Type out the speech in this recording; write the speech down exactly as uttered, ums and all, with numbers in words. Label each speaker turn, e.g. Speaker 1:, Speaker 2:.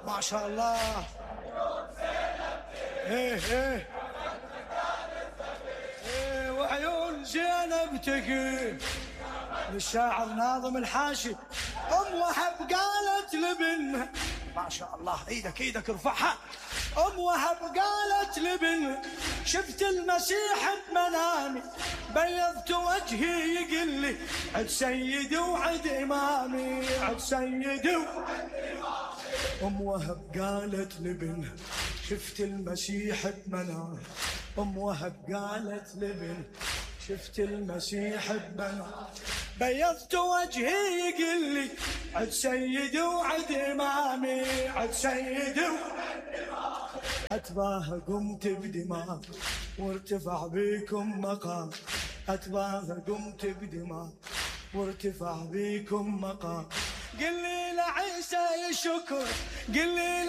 Speaker 1: ما شاء الله. ايه ايه ايه وعيون زينب تقي للشاعر ناظم الحاشي. ام وهب قالت لابنها ما شاء الله، ايدك ايدك ارفعها. ام وهب قالت لابنها شفت المسيح بمنامي بيضت وجهي يقل لي عد سيدي وعد امامي، عد سيدي وعد امامي. ام وهب قالت لابنها شفت المسيح بمنامي. ام وهب قالت لابنها شفت المسيح بمنامي بيضت وجهي يقل لي عد سيدي وعد امامي، عد سيدي وعد امامي. اتباها قمت بدماغ وارتفع بيكم مقام. اتباها قمت بدماغ وارتفع بيكم مقام. قل لي لعيسى يشكر، قل لي